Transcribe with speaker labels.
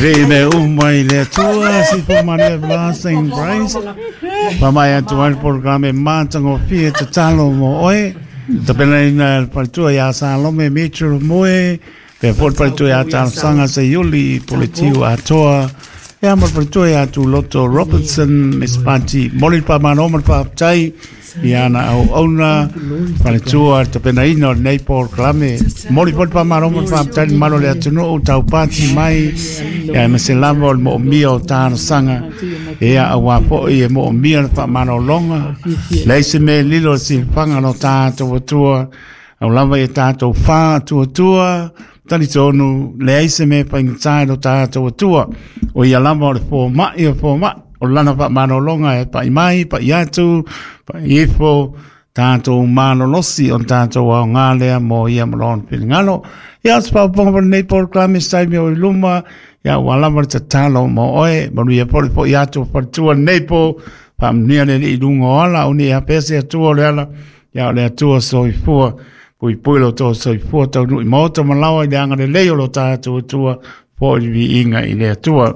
Speaker 1: Vei mea uma i le Atua, si fo manu everlasting praise. Whamai atu ai le polokalame mātangofie tatalo mo oe. Tapenaina e le faletua ia Salome Mitchell Moe, pea foi le faletua ia Talosaga Seiuli Puletiu Atoa, ia ma le faletua ia Tuloto Robertson Miss Pati. Moli le whamano ma le whaapatai i ana auauna, faletua le tapenaina o lenei polokalame. Moli foi le whamano ma le whaapatai le malo le atunuu taupati mai, ia ma se lava o le moomia o talosaga, ia auā foi e moomia le faamalologa, leai se mea e lilo i le silafaga lo tatou Atua, au lava ia tatou faatuatua, talitonu, leai se mea e faigata i lo tatou Atua, o ia lava o le fomai o fomai, o lana faamalologa e pai mai, pai atu, pai ifo, tatou malolosi o le tatou aoga lea mo ia ma lona finagalo. Ia, o se faaopoopoga mo lenei polokalame se taimi o i luma, ia ua lava le tatalo mo oe, manuia foi le foi atu o faletua lenei po, faamanuia le Alii i luga o ala, aua ne i afea se Atua o le ala, ia o le Atua soifua, puipui lo outou soifua taunuu i maota ma laoa i le agalelei o lo tatou Atua, foi le viiga i le Atua.